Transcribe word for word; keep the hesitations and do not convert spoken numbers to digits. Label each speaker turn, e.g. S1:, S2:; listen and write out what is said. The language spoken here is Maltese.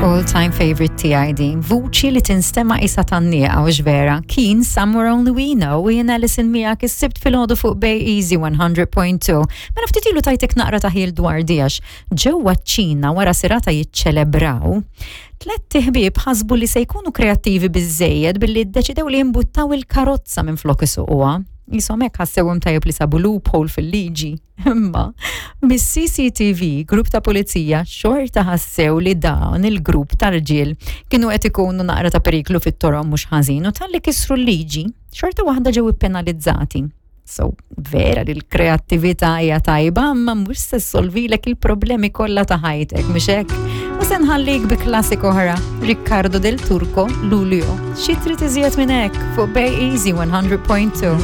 S1: All time favorite tiegħi din, vuċi li tinstema' isa tgħanniqa u vera. Kien Somewhere Only We Know u jien Alison miegħek is-Sibt filgħodu fuq Bay Easy one hundred point two. Mela ftit ilu tajtek naqra ta' ħil dwar dijax. Ġewwa ċ-Ċina, wara serata jiċċelebraw, tlett iħbieb ħasbu li se jkunu kreattivi biżejjed billi ddeċidew li jimbuttaw il-karozza minn flok isuquha. Jisom hekk ħassewhom tajjeb li sabu loophole fil-liġi. Imma mis-C C T V, grupp ta' pulizija xorta ħassew li dawn il-grupp ta' rġiel kienu qed ikunu naqra ta' periklu fit-toroq mhux ħażin u talli kisru l-liġi, xorta waħda ġew ippenalizzati. So, vera li l-kreattività hija tajba, imma mhux se ssolvilek il-problemi kollha ta' ħajtek, mhux hekk? U se nħallik bi klassik oħra, Riccardo Del Turco, Luglio. Xi trid iżjed minn hekk fuq Bay Easy one hundred point two.